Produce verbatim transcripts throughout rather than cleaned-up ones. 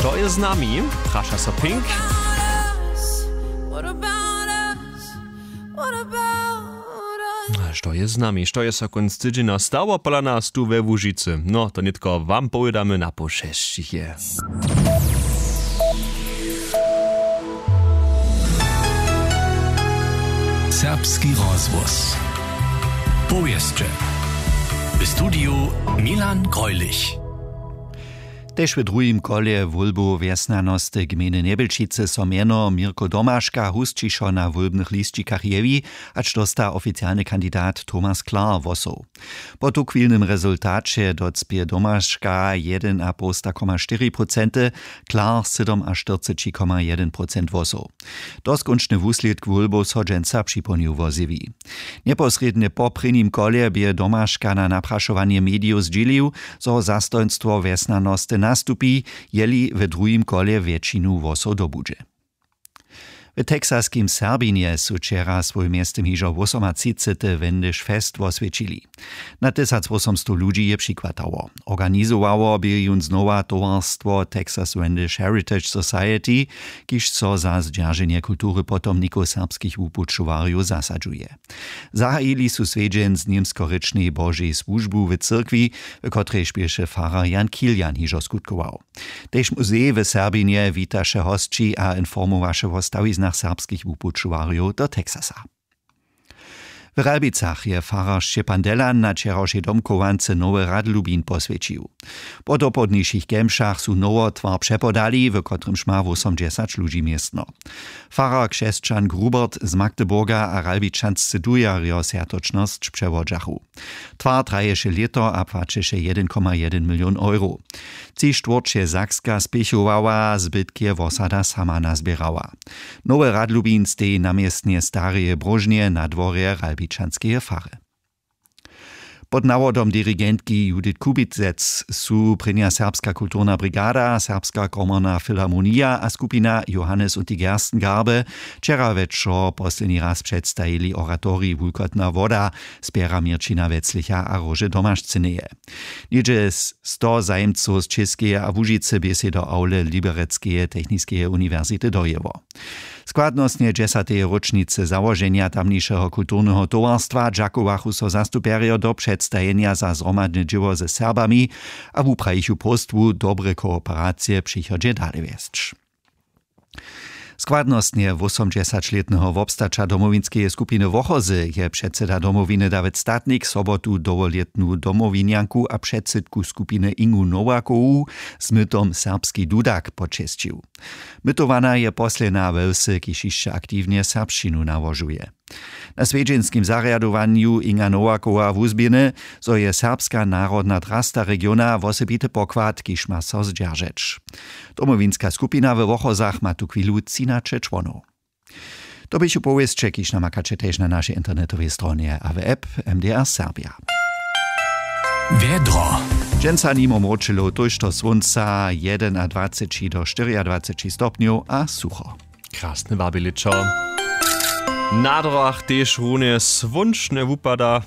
To je z nami, praša so Pink. Što je z nami, što je so kónc tydźenja stało pola nas tu we Łužicy? No, to nětko wam powědamy na poł šesćich je. Serbski rozhłos. Powěsće. W studiju Milan Greulich. Tež w druhim kolje wólbow wjesnjanosty gmejny Njebjelčicy so mjeno Mirko Domaška husćišo na wólbnych lisćikach jewi, hač dósta oficialny kandidat Thomas Klar hłosow. Po tuchwilnym rezultaće docpě Domaška jedynapołsta koma štyri procenty, Klar sydomaštyrceći koma jedyn procent hłosow. Doskónčny wuslědk wólbow so dźensa připołdnju wozjewi. Njeposrědnje po prěnim kolje bě Domaška na naprašowanje medijow zdźělił, zo zastojnstwo wjesnjanosty nastupi, jeli w druhim kolje wjetšinu hłosow dobudźe. W texaskim Serbinje su wčera swój mjeztym hižo wosomatřicety Wendyž Fest woswjećili. Na tysacwosomstow ludźi je přikładało. Organizowało bě jón znowa towarstwo Texas Wendyž Heritage Society, kiž so za zdźerženje kultury potomnikow serbskich wupućowarjow zasadźuje. Zahajili su swjedźeń z němskorěčnej Božej słužbu w cyrkwi, w kotrejž běše farar Jan Kilian hižo skutkował. Tež muzej w Serbinje witaše hosći a informowaše wo stawiznach serbskich wupućowarjow do Texasa. W Ralbicach je farar Šćepan Delan na wčerawšej domchowance nowy radlubin poswjećił. Po dopołdnišich kemšach su nowotwar přepodali, w kotrymž ma wósomdźesać ludźi městno. Farar křesćan Grubert z Magdeburga a ralbičanscy dujarjo swjatočnosć přewodźachu. Twar traješe lěto a płaćeše jedyn koma jedyn milion euro. Tři štwórće Sakska spěchowała, zbytk je wosada sama nazběrała. Nowy radlubin steji na městnje stareje bróžnje na dworje ralbičanskeje fary. Pod nawodom dirigentki Judith Kubicec su prěnja Serbska kulturna brigada, Serbska komorna filharmonija a skupina Johannes und die Gerstengarbe wčera wječor posledni raz předstajili oratorij Wulkotna woda z pjera Měrćina Weclicha a Róže Domašcyneje. Něhdźe sto zajimcow z Čěskeje a Łužicy bě sej do awle Liberecskeje techniskeje uniwersity dojěło. Składnostnje dźesateje róčnicy załoženja tamnišeho kulturneho towarstwa dźakowachu so zastupjerjo do předstajenja za zhromadne dźěło ze Serbami a wuprajichu próstwu dobre kooperacije w přichodźe dale wjesć. Składnostnje wósomdźesaćlětneho wobstaća Domowinskeje skupiny Wochozy je předsyda Domowiny Dawid Statnik sobotu dołholětnu Domowinjanku a předsydku skupiny Ingu Nowakowu z mytom Serbski dudak počesćił. Mytowana je posledna we wsy, kiž hišće aktiwnje serbšćinu nałožuje. Na swjedźenskim zarjadowanju Inga Nowakowa wuzběhny, zo je serbska narodna drasta regiona wosebity pokład, kiž ma so zdźeržeć. Domowinska skupina we Wochozach ma tuchwilu třinaće čłonow. To běchu powěsće, kiž namakaće tež na našej internetowej stronje a w app M D R Serbia. Wjedro. Dźensa nimo mróčelow, tójšto słónca, jedynadwaceći do štyriadwaceći stopnjow a sucho. Krasne wabjeličo. Na drogach tež runje słónčnje wupada.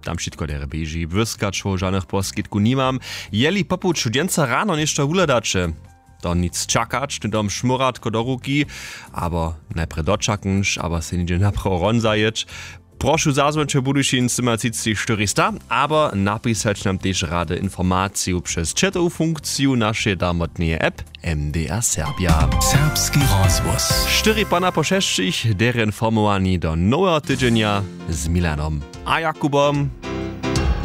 Tam wšitko derje běži, błyskaćow žanych poskitkow nimam. Jeli po puću dźensa rano něšto wuhladaće, to nic čakać, hnydom šmóratko do ruki, abo najprje dočaknš, abo sej něhdźe naprawo hron zajěć. Prošu, zazwońće Budyšin symatřicći štyrista, abo napisać nam tež rady informaciju přez chatowu funkciju našeje darmotneje app M D R Serbia. Serbski rozhłos. Štyri pana po šesćich, derje informowani do noweho tydźenja z Milanom a Jakubom.